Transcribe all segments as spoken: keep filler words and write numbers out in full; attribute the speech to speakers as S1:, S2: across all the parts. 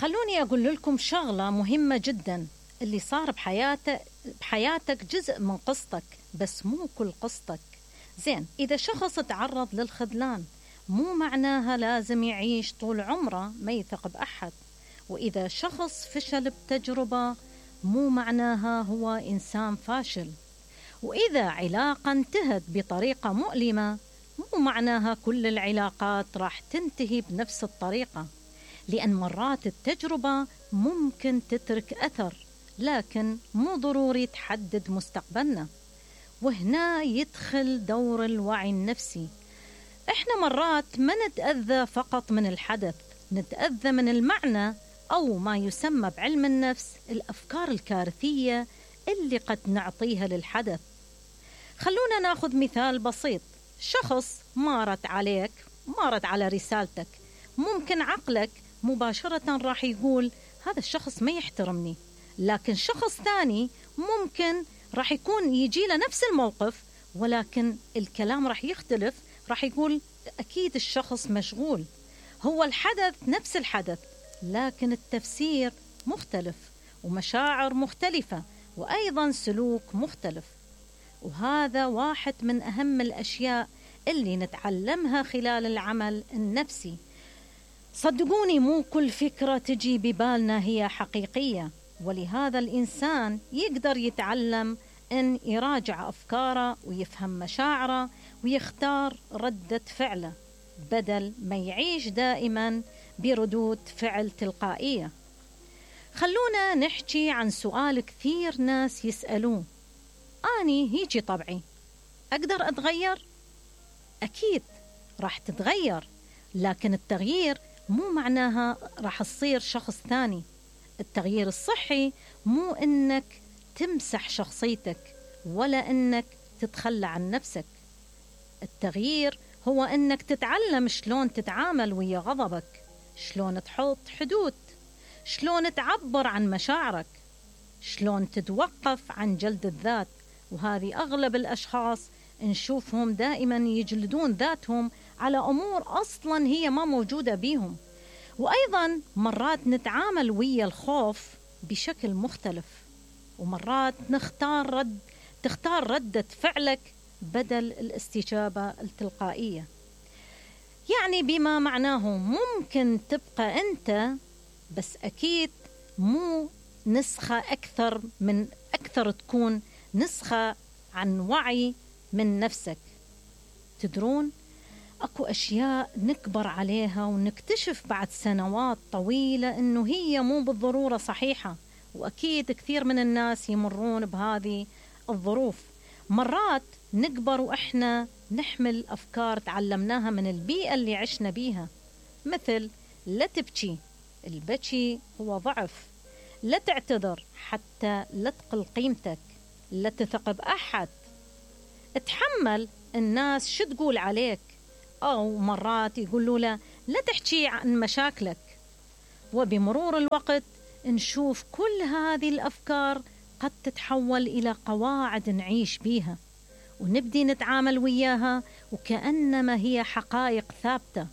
S1: خلوني أقول لكم شغلة مهمة جدا. اللي صار بحياتك بحياتك جزء من قصتك، بس مو كل قصتك. زين، إذا شخص تعرض للخذلان مو معناها لازم يعيش طول عمره ما يثق بأحد. وإذا شخص فشل بتجربة مو معناها هو إنسان فاشل. وإذا علاقة انتهت بطريقة مؤلمة مو معناها كل العلاقات راح تنتهي بنفس الطريقة، لأن مرات التجربة ممكن تترك أثر، لكن مو ضروري تحدد مستقبلنا. وهنا يدخل دور الوعي النفسي. إحنا مرات ما نتأذى فقط من الحدث، نتأذى من المعنى أو ما يسمى بعلم النفس الأفكار الكارثية اللي قد نعطيها للحدث. خلونا ناخذ مثال بسيط. شخص مارت عليك مارت على رسالتك، ممكن عقلك مباشرة راح يقول هذا الشخص ما يحترمني، لكن شخص ثاني ممكن راح يكون يجي له نفس الموقف ولكن الكلام راح يختلف، راح يقول أكيد الشخص مشغول. هو الحدث نفس الحدث لكن التفسير مختلف ومشاعر مختلفة وأيضا سلوك مختلف. وهذا واحد من أهم الأشياء اللي نتعلمها خلال العمل النفسي. صدقوني مو كل فكرة تجي ببالنا هي حقيقية، ولهذا الإنسان يقدر يتعلم أن يراجع أفكاره ويفهم مشاعره ويختار ردة فعله بدل ما يعيش دائما بردود فعل تلقائية. خلونا نحكي عن سؤال كثير ناس يسألوه: أني هيجي طبعي، أقدر أتغير؟ أكيد راح تتغير، لكن التغيير مو معناها راح تصير شخص ثاني. التغيير الصحي مو إنك تمسح شخصيتك ولا إنك تتخلى عن نفسك. التغيير هو إنك تتعلم شلون تتعامل ويا غضبك، شلون تحط حدود، شلون تعبر عن مشاعرك، شلون تتوقف عن جلد الذات. وهذه أغلب الأشخاص نشوفهم دائما يجلدون ذاتهم على أمور أصلا هي ما موجودة بيهم. وأيضا مرات نتعامل ويا الخوف بشكل مختلف، ومرات نختار رد تختار ردة فعلك بدل الاستجابة التلقائية. يعني بما معناه ممكن تبقى أنت، بس أكيد مو نسخة أكثر من أكثر تكون نسخة عن وعي من نفسك. تدرون أكو أشياء نكبر عليها ونكتشف بعد سنوات طويلة إنه هي مو بالضرورة صحيحة، وأكيد كثير من الناس يمرون بهذه الظروف. مرات نكبر وإحنا نحمل أفكار تعلمناها من البيئة اللي عشنا بيها، مثل لا تبكي، البكي هو ضعف، لا تعتذر حتى لا تقل قيمتك، لا تثق بأحد، اتحمل الناس شو تقول عليك، أو مرات يقولوا له لا تحكي عن مشاكلك. وبمرور الوقت نشوف كل هذه الأفكار قد تتحول إلى قواعد نعيش بيها، ونبدي نتعامل وياها وكأنما هي حقائق ثابتة.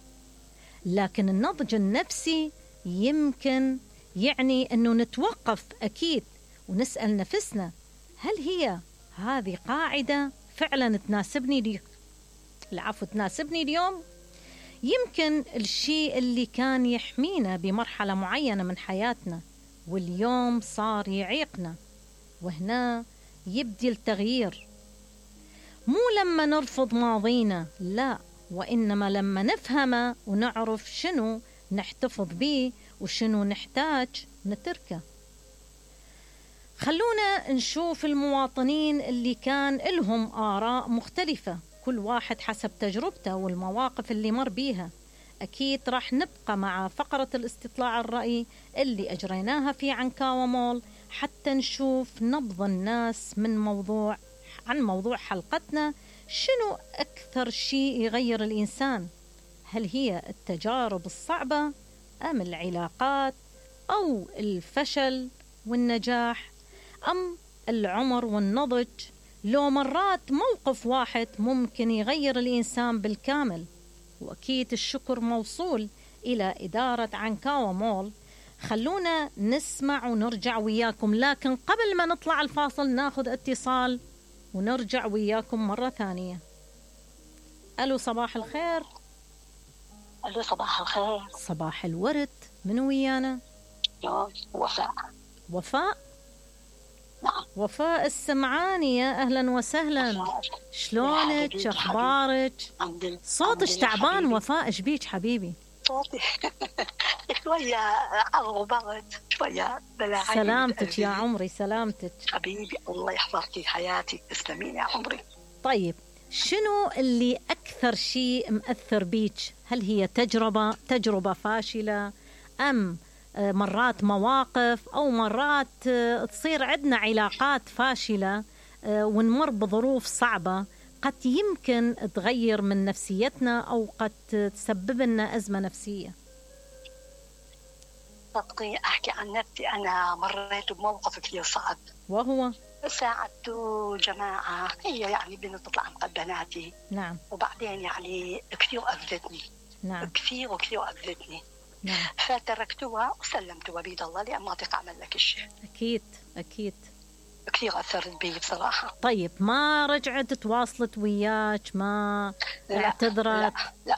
S1: لكن النضج النفسي يمكن يعني أنه نتوقف أكيد ونسأل نفسنا: هل هي هذه قاعدة فعلا تناسبني دي؟ العفو تناسبني اليوم؟ يمكن الشيء اللي كان يحمينا بمرحلة معينة من حياتنا واليوم صار يعيقنا. وهنا يبدي التغيير، مو لما نرفض ماضينا، لا، وإنما لما نفهمه ونعرف شنو نحتفظ به وشنو نحتاج نتركه. خلونا نشوف المواطنين اللي كان لهم آراء مختلفة، كل واحد حسب تجربته والمواقف اللي مر بيها. أكيد راح نبقى مع فقرة الاستطلاع الرأي اللي أجريناها في عنكاوة مول حتى نشوف نبض الناس من موضوع عن موضوع حلقتنا: شنو أكثر شيء يغير الإنسان؟ هل هي التجارب الصعبة أم العلاقات أو الفشل والنجاح أم العمر والنضج؟ لو مرات موقف واحد ممكن يغير الإنسان بالكامل. وأكيد الشكر موصول إلى إدارة عنكاوة مول. خلونا نسمع ونرجع وياكم، لكن قبل ما نطلع الفاصل ناخذ اتصال ونرجع وياكم مرة ثانية. ألو صباح الخير.
S2: ألو صباح الخير.
S1: صباح الورد. من ويانا؟
S2: وفاء.
S1: وفاء؟
S2: نعم.
S1: وفاء السمعانية، أهلا وسهلا. شلونك؟ أخبارك؟ صوتك تعبان وفاء، إيش بيك حبيبي؟
S2: صوتي شوية عرض وبرد شوية بلا.
S1: سلامتك يا عمري، سلامتك
S2: حبيبي، الله يحفظك حياتي، تسلمين يا عمري.
S1: طيب شنو اللي أكثر شيء مأثر بيك؟ هل هي تجربة تجربة فاشلة، أم مرات مواقف، أو مرات تصير عندنا علاقات فاشلة ونمر بظروف صعبة قد يمكن تغير من نفسيتنا أو قد تسبب لنا أزمة نفسية؟
S2: صدقي أحكي عن نفسي، أنا مريت بموقف كثير صعب،
S1: وهو
S2: ساعدت جماعة، هي يعني بنت تطلع عن بناتي.
S1: نعم.
S2: وبعدين يعني كثير أذتني.
S1: نعم.
S2: كثير وكثير أذتني.
S1: نعم.
S2: فتركتها وسلمتها بيد الله، لأن ما أطيق أعمل لك شيء.
S1: أكيد أكيد.
S2: كثير أثرت بي بصراحة.
S1: طيب ما رجعت تواصلت وياك؟ ما اعتذرت؟
S2: لا لا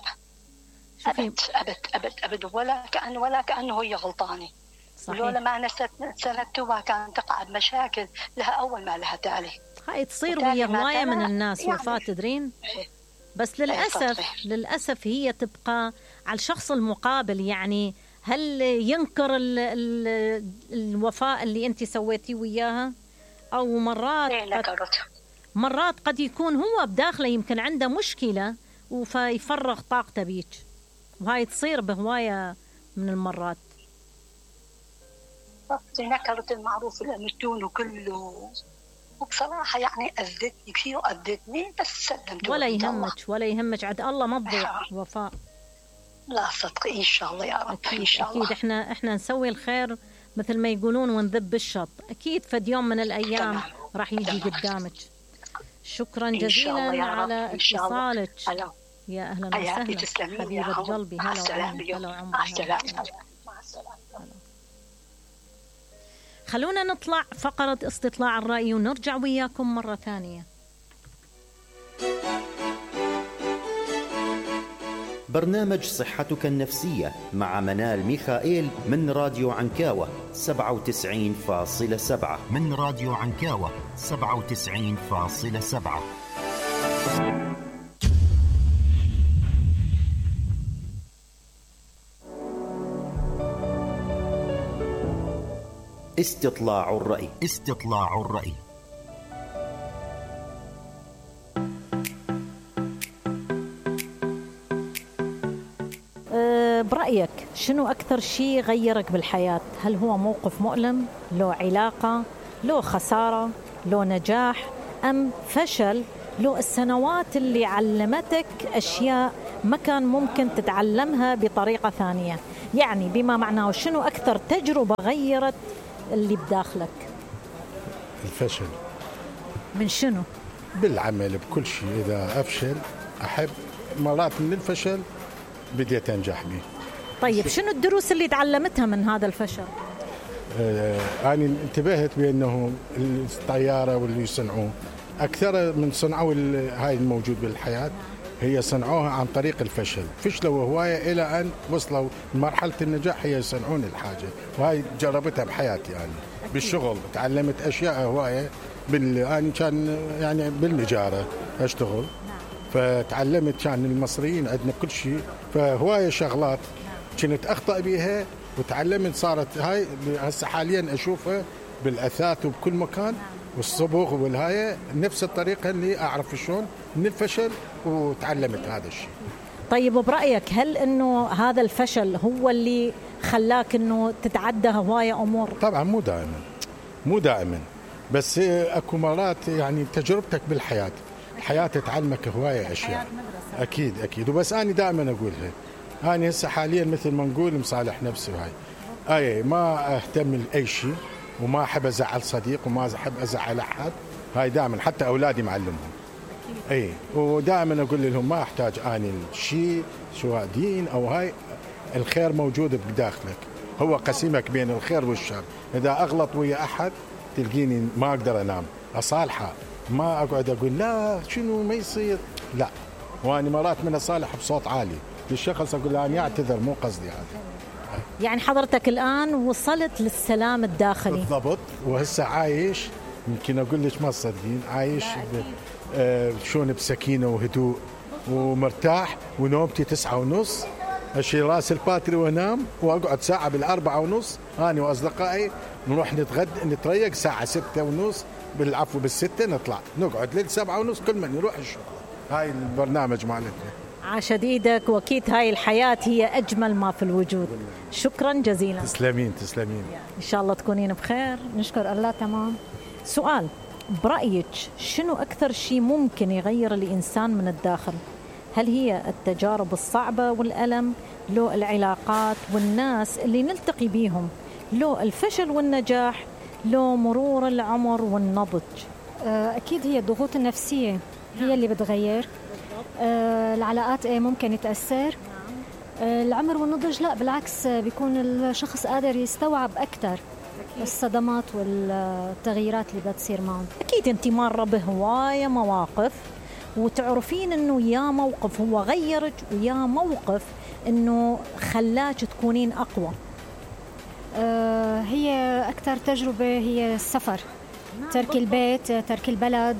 S1: شوفي.
S2: أبد أبد أبد أبد ولا كأنه ولا كأنه هي غلطانة. ولولا ما أنا سندتها كانت تقع بمشاكل لها أول ما لها تالي.
S1: هاي تصير ويا هواية من الناس يعني. وفاة تدرين؟ بس للأسف للأسف هي تبقى على الشخص المقابل، يعني هل ينكر ال ال الوفاء اللي أنت سويتيه وياها؟ أو مرات قد مرات قد يكون هو بداخله يمكن عنده مشكلة وفيفرغ طاقته بيك، وهاي تصير بهواية من المرات.
S2: نكرت المعروف المتون وكله، وبصراحة يعني أذتني كثير، أذتني بس سلمت.
S1: ولا يهمك ولا يهمك، عد الله ما تضيع وفاء.
S2: لا صدقي إن شاء الله يا رب.
S1: أكيد
S2: إن شاء الله.
S1: أكيد إحنا إحنا نسوي الخير مثل ما يقولون ونذب بالشط، أكيد فد يوم من الأيام تمام. راح يجي تمام. قدامك. شكرا جزيلا على اتصالك. يا أهلا وسهلا حبيبة قلبي. هلا وعمري. هلا وعمري. مع السلامة. خلونا نطلع فقرة استطلاع الرأي ونرجع وياكم مرة ثانية.
S3: برنامج صحتك النفسية مع منال ميخائيل من راديو عنكاوة سبعة وتسعين فاصلة سبعة. من راديو عنكاوة سبعة وتسعين فاصلة سبعة. استطلاع الرأي. استطلاع الرأي.
S1: برأيك شنو أكثر شيء غيرك بالحياة؟ هل هو موقف مؤلم، لو علاقة، لو خسارة، لو نجاح، أم فشل، لو السنوات اللي علمتك أشياء ما كان ممكن تتعلمها بطريقة ثانية؟ يعني بما معناه شنو أكثر تجربة غيرت اللي بداخلك؟
S4: الفشل.
S1: من شنو؟
S4: بالعمل بكل شيء. إذا أفشل أحب مرات من الفشل بديت أنجح به.
S1: طيب شنو الدروس اللي تعلمتها من هذا الفشل؟
S4: آه أنا انتبهت بأنه الطيارة واللي يصنعوه أكثر من صنعوا هاي الموجود بالحياة هي صنعوها عن طريق الفشل، فشلوا هواية إلى أن وصلوا لمرحلة النجاح هي يصنعون الحاجة، وهاي جربتها بحياتي يعني. بالشغل تعلمت أشياء هواية بال أنا كان يعني بالنجارة أشتغل، فتعلمت كان المصريين عندنا كل شيء، فهواية شغلات كنت أخطأ بيها وتعلمت. صارت هاي هسه حاليا أشوفها بالأثاث وبكل مكان والصبغ والهاية نفس الطريقة اللي أعرف شلون من الفشل وتعلمت هذا الشيء.
S1: طيب برأيك هل إنه هذا الفشل هو اللي خلاك إنه تتعدى هواية أمور؟
S4: طبعا مو دائما مو دائما بس أكو مرات يعني تجربتك بالحياة الحياة تعلمك هواية أشياء. أكيد أكيد. وبس أنا دائما أقولها، أنا هسه حاليا مثل ما نقول مصالح نفسي، وهاي أي ما أهتم لأي شيء وما أحب أزعل صديق وما أحب أزعل أحد. هاي دائما حتى أولادي معلمهم. أي ودائما أقول لهم ما أحتاج أني الشيء سواء دين أو هاي، الخير موجود بداخلك هو قسيمك بين الخير والشر. إذا أغلط ويا أحد تلقيني ما أقدر أنام أصالحه، ما أقعد أقول لا شنو ما يصير، لا، وأنا مرات من أصالح بصوت عالي للشخص أقول له أنا أعتذر مو قصدي هذا.
S1: يعني حضرتك الآن وصلت للسلام الداخلي
S4: بالضبط، وهسه عايش يمكن أقول لك ما تصدقين عايش آه شلون بسكينة وهدوء ومرتاح، ونومتي تسعة ونص أشيل راس الباتري وانام، واقعد ساعة بالأربعة ونص أنا وأصدقائي نروح نتغد نتريق ساعة ستة ونص بالعفو بالستة نطلع نقعد للسبعة ونص كل من يروح الشغل. هاي البرنامج مالتنا.
S1: عاشت ايدك، واكيد هاي الحياة هي أجمل ما في الوجود. شكرا جزيلا.
S4: تسلمين تسلمين.
S1: إن شاء الله تكونين بخير.
S5: نشكر الله. تمام.
S1: سؤال، برأيك شنو أكثر شيء ممكن يغير الإنسان من الداخل؟ هل هي التجارب الصعبة والألم، لو العلاقات والناس اللي نلتقي بيهم، لو الفشل والنجاح، لو مرور العمر والنضج؟
S5: أكيد هي الضغوط النفسية هي اللي بتغير. العلاقات ممكن يتأثر. العمر والنضج لا، بالعكس بيكون الشخص قادر يستوعب أكثر الصدمات والتغييرات اللي بتصير معه.
S1: أكيد أنت مرة بهواية مواقف وتعرفين أنه يا موقف هو غيرك ويا موقف أنه خلاك تكونين أقوى.
S5: آه هي أكثر تجربة هي السفر، ترك البيت، ترك البلد،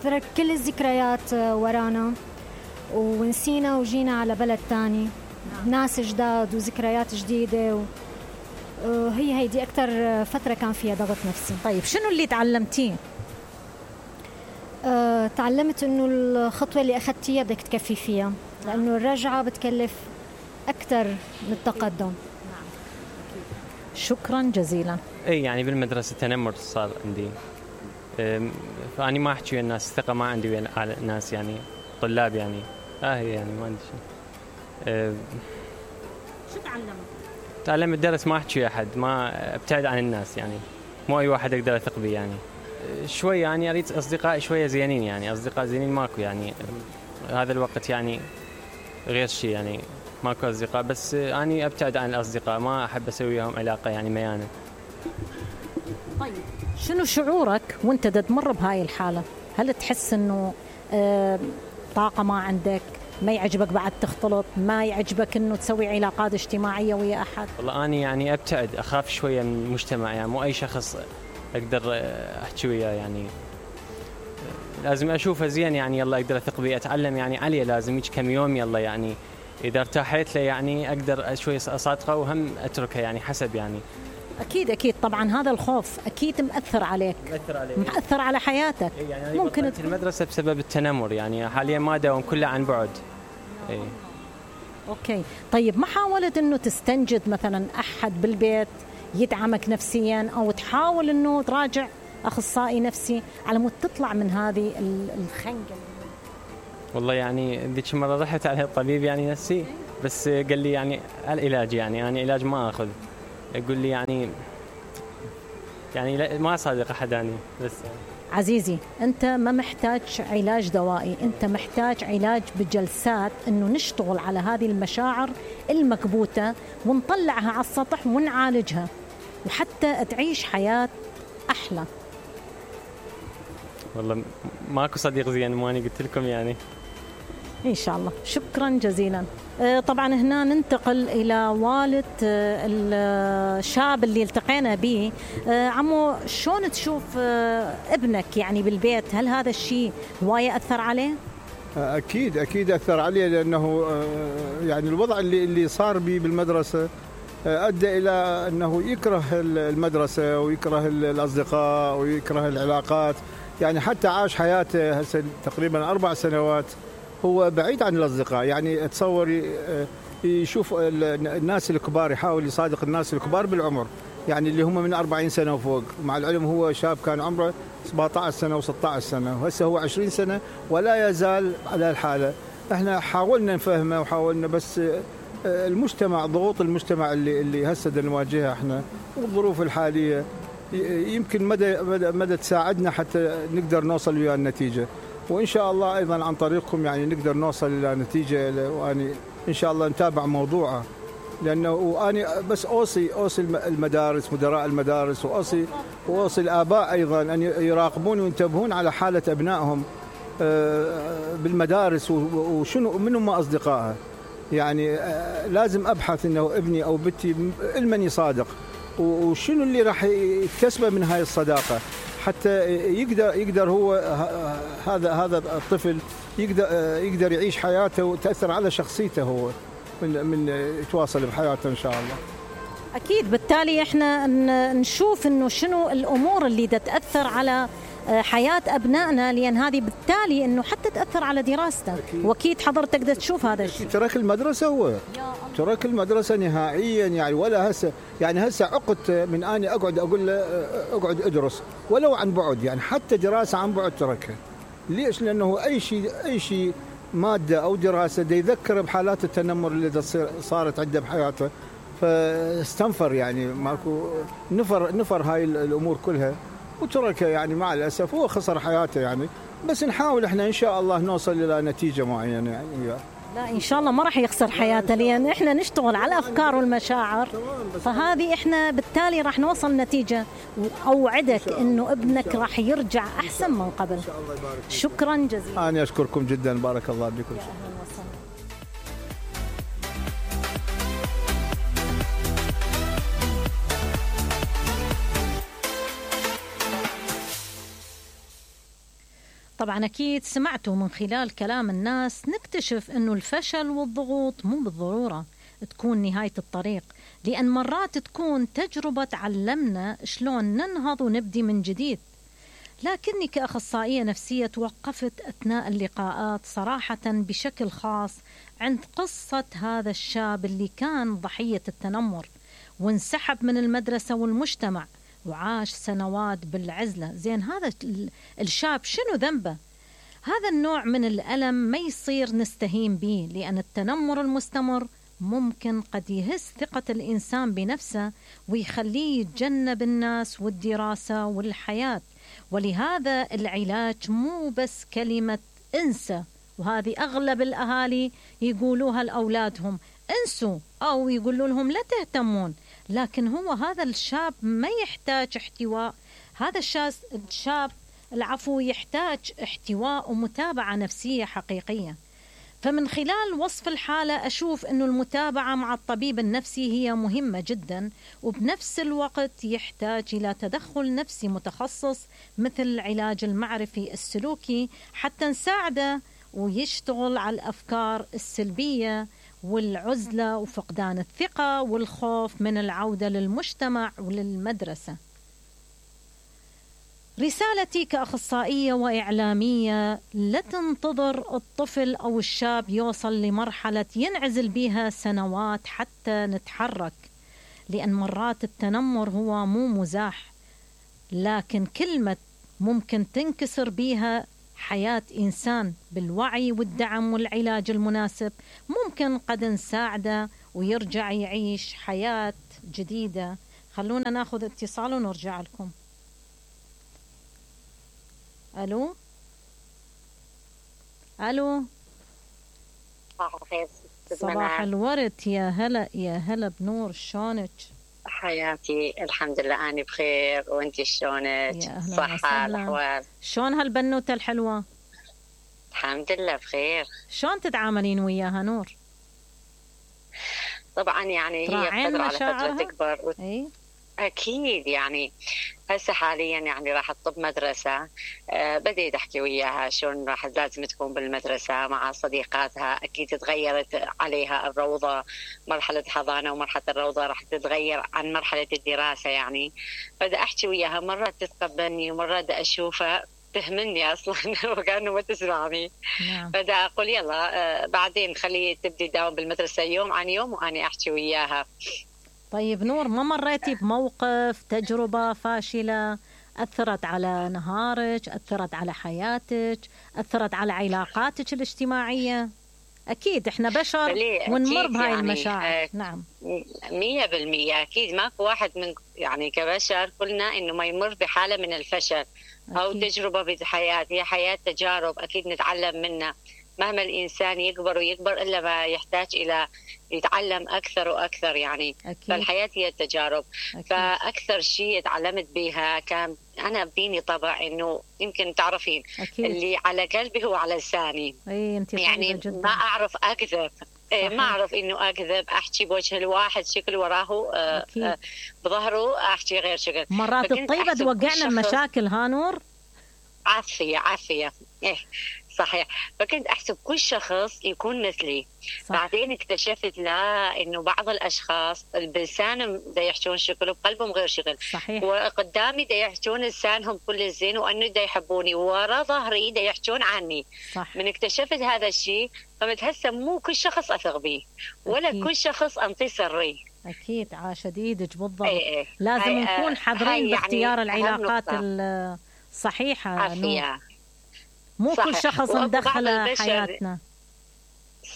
S5: ترك كل الذكريات ورانا ونسينا وجينا على بلد تاني، ناس جداد وذكريات جديدة. هي هيدي أكثر فترة كان فيها ضغط نفسي.
S1: طيب شنو اللي تعلمتيه؟
S5: أه، تعلمت إنه الخطوة اللي أخذتيها بدك تكفي فيها، لأنه الرجعة بتكلف أكثر من التقدم.
S1: شكرا جزيلا.
S6: اي يعني بالمدرسة تنمر صار عندي، فأني ما أحكي ويا الناس، الثقة ما عندي ويا الناس، يعني طلاب يعني آه يعني ما عندي شيء. أه
S1: شو تعلمت؟
S6: تعلمت درس ما أحكي ويا أحد، ما أبتعد عن الناس، يعني مو أي واحد أقدر أثق به. يعني شوي يعني أريد أصدقاء شوية زينين، يعني أصدقاء زينين ماكو، يعني هذا الوقت يعني غير شيء، يعني ماكو أصدقاء، بس أنا أبتعد عن الأصدقاء، ما أحب أسوي وياهم علاقة يعني ميانة.
S1: طيب شنو شعورك وانت تمر بهاي الحالة؟ هل تحس إنه آه طاقة ما عندك، ما يعجبك بعد تختلط، ما يعجبك إنه تسوي علاقات اجتماعية ويا أحد؟
S6: والله أنا يعني أبتعد، أخاف شوية من المجتمع، يعني مو أي شخص أقدر أحكي وياه، يعني لازم أشوفه زين، يعني يلا أقدر أثق به، أتعلم يعني عليه، لازم يجي كم يوم يلا، يعني إذا ارتاحت له يعني أقدر شوي أصادقه وهم أتركه، يعني حسب يعني.
S1: أكيد أكيد طبعا هذا الخوف أكيد مأثر عليك،
S6: مأثر عليك،
S1: مأثر على حياتك.
S6: يعني ممكن في المدرسة بسبب التنمر، يعني حاليا ما داوم كله عن بعد. إيه.
S1: أوكي طيب ما حاولت إنه تستنجد مثلا أحد بالبيت يدعمك نفسيا، أو تحاول إنه تراجع أخصائي نفسي على مود تطلع من هذه الخنقة؟
S6: والله يعني ذيك مرة رحت على الطبيب يعني نفسي، بس قال لي يعني العلاج، يعني أنا علاج ما أخذ، يقول لي يعني يعني ما صادق أحد يعني. بس يعني.
S1: عزيزي أنت ما محتاج علاج دوائي، أنت محتاج علاج بجلسات، إنه نشتغل على هذه المشاعر المكبوتة ونطلعها على السطح ونعالجها، وحتى تعيش حياة أحلى.
S6: والله ماكو صديق زين، ماني قلت لكم يعني.
S1: إن شاء الله. شكرا جزيلا. طبعا هنا ننتقل إلى والد الشاب اللي التقينا به. عمو شلون تشوف ابنك يعني بالبيت؟ هل هذا الشيء هواية أثر عليه؟
S7: أكيد أكيد أثر عليه، لأنه يعني الوضع اللي اللي صار بي بالمدرسة أدى إلى أنه يكره المدرسة ويكره الأصدقاء ويكره العلاقات، يعني حتى عاش حياته هسه تقريبا أربع سنوات هو بعيد عن الأصدقاء. يعني تصور يشوف الناس الكبار، يحاول يصادق الناس الكبار بالعمر، يعني اللي هم من أربعين سنة وفوق، مع العلم هو شاب كان عمره سبعة عشر سنة وستة عشر سنة، وهسه هو عشرين سنة ولا يزال على الحالة. احنا حاولنا نفهمه وحاولنا، بس المجتمع، ضغوط المجتمع اللي اللي هسه نواجهها احنا والظروف الحالية يمكن مدى مدى, مدى تساعدنا حتى نقدر نوصل ويا النتيجة، وإن شاء الله أيضا عن طريقكم يعني نقدر نوصل إلى نتيجة، وأني إن شاء الله نتابع موضوعه لانه واني بس اوصي اوصي المدارس، مدراء المدارس، واوصي واوصي الاباء ايضا ان يراقبون وينتبهون على حاله ابنائهم بالمدارس، وشنو من هم اصدقائها. يعني لازم ابحث انه ابني او بنتي المني صادق، وشنو اللي راح يكتسبه من هاي الصداقه، حتى يقدر يقدر هو هذا هذا الطفل يقدر يقدر يعيش حياته وتاثر على شخصيته هو من من يتواصل بحياته ان شاء الله.
S1: اكيد. بالتالي احنا نشوف انه شنو الامور اللي تاثر على حياه ابنائنا، لان هذه بالتالي انه حتى تاثر على دراسته. أكيد. واكيد حضرتك تقدر تشوف هذا الشيء.
S7: ترك المدرسه هو ترك المدرسه نهائيا، يعني ولا هسه يعني هسه عقد من اني اقعد اقول له اقعد ادرس ولو عن بعد، يعني حتى دراسه عن بعد تركها. ليش؟ لانه اي شيء اي شيء ماده او دراسه دي يذكر بحالات التنمر اللي صارت عنده بحياته، فاستنفر يعني ماكو نفر نفر هاي الامور كلها وتركها. يعني مع الاسف هو خسر حياته يعني، بس نحاول احنا ان شاء الله نوصل الى نتيجه معينه يعني وياه.
S1: لا ان شاء الله ما راح يخسر حياته، لان احنا نشتغل على الافكار والمشاعر، فهذه احنا بالتالي راح نوصل نتيجه. واوعدك انه ابنك راح يرجع احسن من قبل. شكرا جزيلا.
S7: انا اشكركم جدا، بارك الله بكم.
S1: طبعا أكيد سمعتوا من خلال كلام الناس، نكتشف أنه الفشل والضغوط مو بالضرورة تكون نهاية الطريق، لأن مرات تكون تجربة تعلمنا شلون ننهض ونبدي من جديد. لكني كأخصائية نفسية توقفت أثناء اللقاءات صراحة بشكل خاص عند قصة هذا الشاب اللي كان ضحية التنمر وانسحب من المدرسة والمجتمع وعاش سنوات بالعزلة. زين هذا الشاب شنو ذنبه؟ هذا النوع من الألم ما يصير نستهين به، لأن التنمر المستمر ممكن قد يهز ثقة الإنسان بنفسه ويخليه يتجنب الناس والدراسة والحياة. ولهذا العلاج مو بس كلمة انسى، وهذه أغلب الأهالي يقولوها لأولادهم انسوا، أو يقولوا لهم لا تهتمون. لكن هو هذا الشاب ما يحتاج احتواء، هذا الشاب العفو يحتاج احتواء ومتابعة نفسية حقيقية. فمن خلال وصف الحالة أشوف أنه المتابعة مع الطبيب النفسي هي مهمة جدا، وبنفس الوقت يحتاج إلى تدخل نفسي متخصص مثل العلاج المعرفي السلوكي حتى نساعده ويشتغل على الأفكار السلبية والعزلة وفقدان الثقة والخوف من العودة للمجتمع وللمدرسة. رسالتي كأخصائية وإعلامية: لا تنتظر الطفل أو الشاب يوصل لمرحلة ينعزل بها سنوات حتى نتحرك، لأن مرات التنمر هو مو مزاح، لكن كلمة ممكن تنكسر بها حياة إنسان. بالوعي والدعم والعلاج المناسب ممكن قد نساعده ويرجع يعيش حياة جديدة. خلونا ناخذ اتصال ونرجع لكم. ألو ألو صباح الورد، يا هلا يا هلا بنور، شلونك؟
S8: حياتي الحمد لله أنا بخير، وانتي شلونك؟ صحة الأحوال؟
S1: شلون هالبنوتة الحلوة؟
S8: الحمد لله بخير.
S1: شلون تتعاملين وياها نور؟
S8: طبعا يعني هي فترة على فترة تكبر و...
S1: أي؟
S8: أكيد يعني هسه حاليا يعني راح تطب مدرسة. أه بديت أحكي وياها شلون راح لازم تكون بالمدرسة مع صديقاتها. أكيد تغيرت عليها الروضة، مرحلة حضانة ومرحلة الروضة راح تتغير عن مرحلة الدراسة يعني. بدأ أحكي وياها، مرات تتقبلني ومرات أشوفها تهمني أصلا وكأنه ما تسمعني.
S1: نعم.
S8: بدأ أقول يلا أه بعدين خليه تبدي تداوم بالمدرسة يوم عن يوم وأنا أحكي وياها.
S1: طيب نور، ما مريتي بموقف تجربة فاشلة أثرت على نهارك، أثرت على حياتك، أثرت على علاقاتك الاجتماعية؟ أكيد إحنا بشر ونمر بهاي يعني المشاعر. آه
S8: نعم مية بالمية أكيد. ماكو واحد من يعني كبشر كلنا إنه ما يمر بحالة من الفشل أو أكيد. تجربة بالحياة، هي حياة تجارب أكيد نتعلم منها. مهما الإنسان يكبر ويكبر إلا ما يحتاج إلى يتعلم أكثر وأكثر يعني. أكيد. فالحياة هي التجارب. أكيد. فأكثر شيء تعلمت بها كان أنا بديني طبع إنه يمكن تعرفين أكيد. اللي على قلبي هو على لساني. يعني جداً. ما أعرف أكذب. صحيح. ما أعرف إنه أكذب، أحكي بوجه الواحد شكل وراه آه بظهره أحكي غير شكل.
S1: مرات الطيبة توقعنا المشاكل ها نور.
S8: عافية عافية إيه صحيح. فكنت أحسب كل شخص يكون مثلي. صح. بعدين اكتشفت لا إنه بعض الأشخاص بلسانهم دا يحجون شكل وبقلبهم غير شكل. صحيح. وقدامي دا يحجون لسانهم كل الزين وأنه دا يحبوني، ورا ظهري دا يحجون عني. صح. من اكتشفت هذا الشيء قمت هسه مو كل شخص أثق به ولا أكيد. كل شخص أنطي سري.
S1: أكيد عاشة إيدك بالضبط. ايه ايه. لازم نكون حذرين باختيار يعني العلاقات الصحيحة. عافية. مو صح. كل شخص ندخله حياتنا.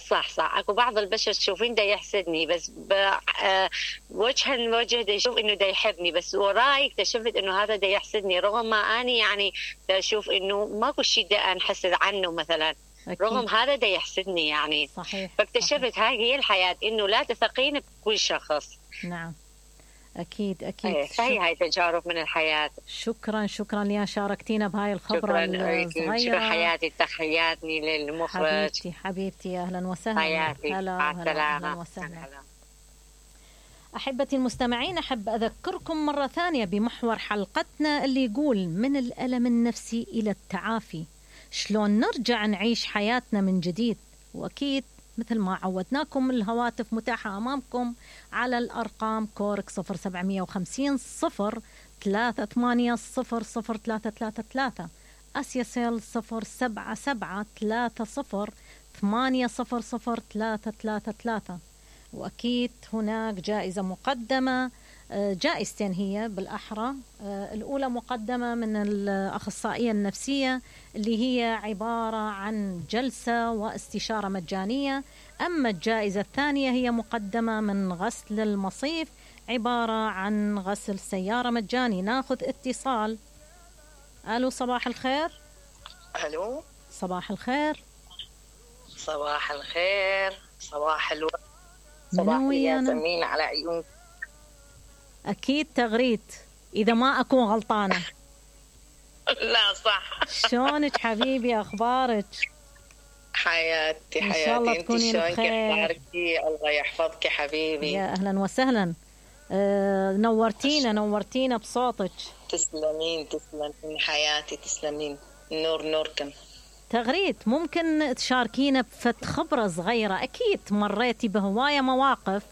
S8: صح صح. اكو بعض البشر تشوفين دا يحسدني بس وجها لوجه دا يشوف انه دا يحبني، بس وراي اكتشفت انه هذا دا يحسدني رغم ما اني يعني دا اشوف انه ماكو شيء دا انحسد عنه مثلا. أكيد. رغم هذا دا يحسدني يعني. صحيح. فاكتشفت صحيح. هاي هي الحياة، انه لا تثقين بكل شخص.
S1: نعم أكيد أكيد.
S8: ايه فهي هاي تجارب من الحياة.
S1: شكرا شكرا يا شاركتينا بهاي الخبرة الصغيرة.
S8: شكرا حياتي، تحياتي للمخرج.
S1: حبيبتي حبيبتي أهلا وسهلا.
S8: حياتي مع السلامة.
S1: أهلا وسهلا. أحبتي المستمعين، أحب أذكركم مرة ثانية بمحور حلقتنا اللي يقول من الألم النفسي إلى التعافي، شلون نرجع نعيش حياتنا من جديد. وأكيد مثل ما عودناكم الهواتف متاحة أمامكم على الأرقام كورك صفر سبعمية وخمسين صفر ثلاثة ثمانية صفر صفر ثلاثة ثلاثة ثلاثة، أسياسيل صفر سبعة سبعة ثلاثة صفر ثمانية صفر صفر ثلاثة ثلاثة ثلاثة. وأكيد هناك جائزة مقدمة، جائزتين هي بالأحرى. الأولى مقدمة من الأخصائية النفسية اللي هي عبارة عن جلسة واستشارة مجانية، أما الجائزة الثانية هي مقدمة من غسل المصيف عبارة عن غسل سيارة مجاني. ناخذ اتصال. ألو صباح الخير.
S9: ألو
S1: صباح الخير.
S9: صباح الخير. صباح الوقت. صباح الياسمين على عيون.
S1: أكيد تغريد إذا ما أكون غلطانة.
S9: لا صح.
S1: شلونك حبيبي، أخبارك؟
S9: حياتي حياتي.
S1: إن شاء الله تكونين
S9: بخير. الله يحفظك حبيبي.
S1: يا أهلا وسهلا. أه نورتينا نورتينا بصوتك.
S9: تسلمين تسلمين حياتي، تسلمين. نور نوركم.
S1: تغريد ممكن تشاركينا بفت خبرة صغيرة؟ أكيد مريتي بهواية مواقف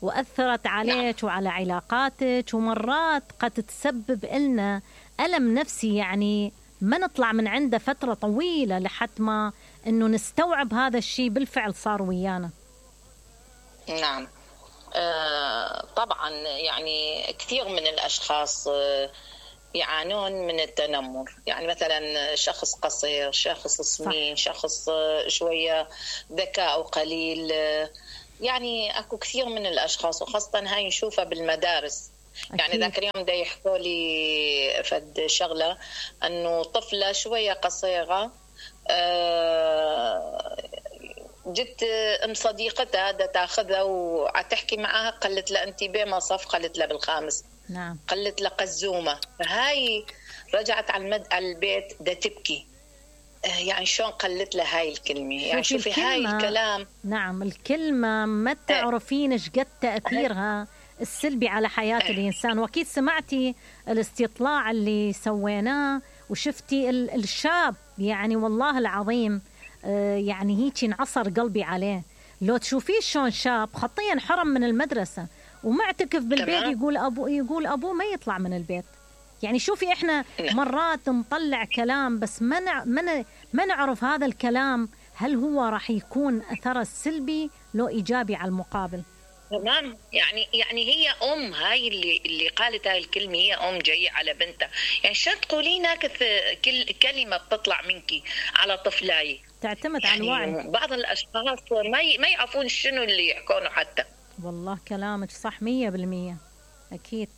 S1: وأثرت عليك وعلى علاقاتك، ومرات قد تسبب لنا ألم نفسي يعني ما نطلع من عنده فترة طويلة لحد ما أنه نستوعب هذا الشيء بالفعل صار ويانا.
S9: نعم آه طبعا يعني كثير من الأشخاص آه يعانون من التنمر، يعني مثلا شخص قصير، شخص سمين، شخص آه شوية ذكاء قليل، آه يعني اكو كثير من الاشخاص، وخاصه هاي نشوفها بالمدارس. أكيد. يعني ذاك اليوم دا يحكوا لي فد شغله انه طفله شويه قصيره جت ام صديقتها دا تاخذها وعتحكي معها، قالت لها انت بما صف، قالت لها بالخامس.
S1: نعم.
S9: قالت لها قزومه. هاي رجعت على المد على البيت دا تبكي، يعني شلون قلت له هاي الكلمة، يعني شوفي هاي الكلام.
S1: نعم الكلمة ما تعرفين ايش قد تأثيرها السلبي على حياة الإنسان. وأكيد سمعتي الاستطلاع اللي سويناه وشفتي الشاب، يعني والله العظيم يعني هيك انعصر قلبي عليه. لو تشوفيه شلون شاب خطيا حرم من المدرسة ومعتكف بالبيت، يقول أبو يقول أبوه ما يطلع من البيت. يعني شوفي احنا مرات نطلع كلام بس ما نع... ما, ما نعرف هذا الكلام هل هو راح يكون اثره السلبي لو ايجابي على المقابل.
S9: تمام. يعني يعني هي ام، هاي اللي اللي قالت هاي الكلمه هي ام جايه على بنتها، يعني شو تقولين كل كلمه بتطلع منك على طفلاي
S1: تعتمد
S9: يعني
S1: على الوعي.
S9: بعض الاشخاص ما ي... ما يعرفون شنو اللي يحكونه حتى.
S1: والله كلامك صح مية بالمية. اكيد.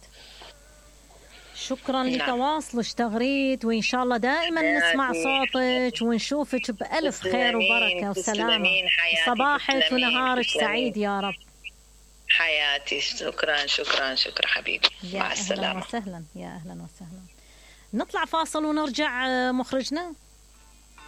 S1: شكرا لتواصلك تغريد، وإن شاء الله دائما نسمع صوتك ونشوفك بألف خير وبركة وسلامة. صباحك ونهارك سعيد يا رب.
S9: حياتي شكرا شكرا شكرا حبيبي، مع السلامة.
S1: يا أهلا وسهلا، يا أهلا وسهلا. نطلع فاصل ونرجع مخرجنا.